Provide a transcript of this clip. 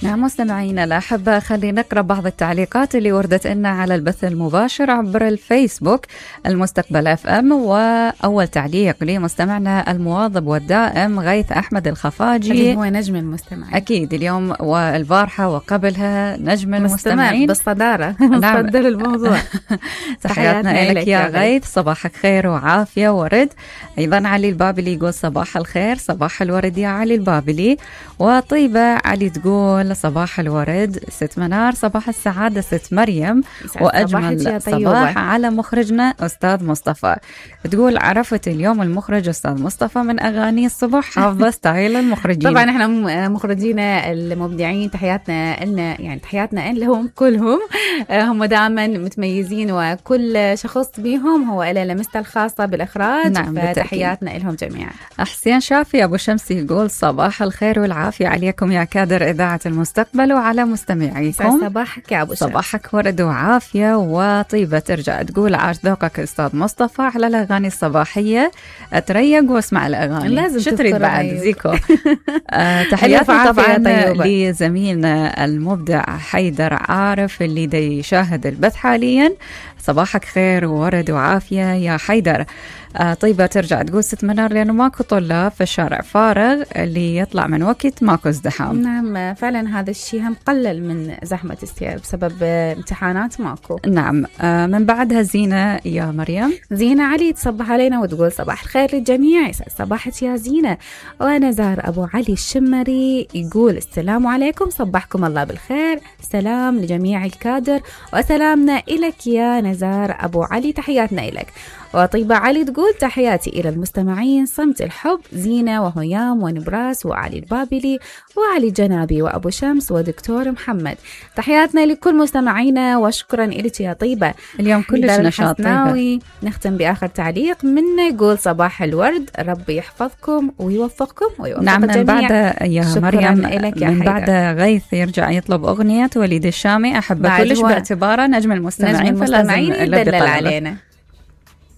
نعم مستمعينا الأحبة، خلينا نقرأ بعض التعليقات اللي وردت لنا على البث المباشر عبر الفيسبوك المستقبل اف ام. وأول تعليق لمستمعنا المواظب والدائم غيث أحمد الخفاجي، اللي هو نجم المستمعين أكيد اليوم والبارحة وقبلها نجم المستمعين بالصدارة. نصدر الموضوع. تحياتنا لك يا غيث، صباحك خير وعافية ورد. أيضا علي البابلي يقول صباح الخير، صباح الورد يا علي البابلي. وطيبة علي تقول صباح الورد. ست منار صباح السعادة ست مريم، وأجمل صباح على مخرجنا أستاذ مصطفى. تقول عرفت اليوم المخرج أستاذ مصطفى من أغاني الصبح، حافظة ستايل المخرجين. طبعا احنا مخرجينا المبدعين تحياتنا لنا، يعني تحياتنا لهم كلهم. هم دائما متميزين وكل شخص بيهم هو له لمسته الخاصة بالإخراج. نعم فتحياتنا لهم جميعا. حسين شافي أبو شمس يقول صباح الخير والعافية عليكم يا كادر إذاعة المستقبل وعلى مستمعيكم. صباحك يا أبو شمس. صباحك ورد وعافية. وطيبة ترجع تقول عاش ذوقك أستاذ مصطفى على الأغاني الصباحية، أتريق واسمع الأغاني. لازم شو تريد بعد زيكو. تحياتنا طبعا لزميلنا المبدع حيدر عارف اللي دي يشاهد البث حاليا. صباحك خير وورد وعافية يا حيدر. طيبة ترجع تقول ست منار لأنه ماكو طلاب في الشارع فارغ، اللي يطلع من وقت ماكو ازدحام. نعم فعلا هذا الشيء هم قلل من زحمة السير بسبب امتحانات ماكو. نعم. من بعدها زينة يا مريم. زينة علي تصبح علينا وتقول صباح الخير للجميع. يسعد صباحك يا زينة. ونزار أبو علي الشمري يقول السلام عليكم، صبحكم الله بالخير، سلام لجميع الكادر وسلامنا إلك يا نزار أبو علي، تحياتنا إلك. وطيبة علي تقول تحياتي إلى المستمعين صمت الحب، زينة وهيام ونبراس وعلي البابلي وعلي جنابي وأبو شمس ودكتور محمد، تحياتنا لكل مستمعينا وشكرا إلك يا طيبة. اليوم كلش نشاط. طيبة نختم بآخر تعليق منا يقول صباح الورد، ربي يحفظكم ويوفقكم ويوفق نعم الجميع. من بعد يا مريم من بعد غيث يرجع يطلب أغنية وليد الشامي أحبه كلش باعتباره نجم المستمعين فلازم يدلل علينا.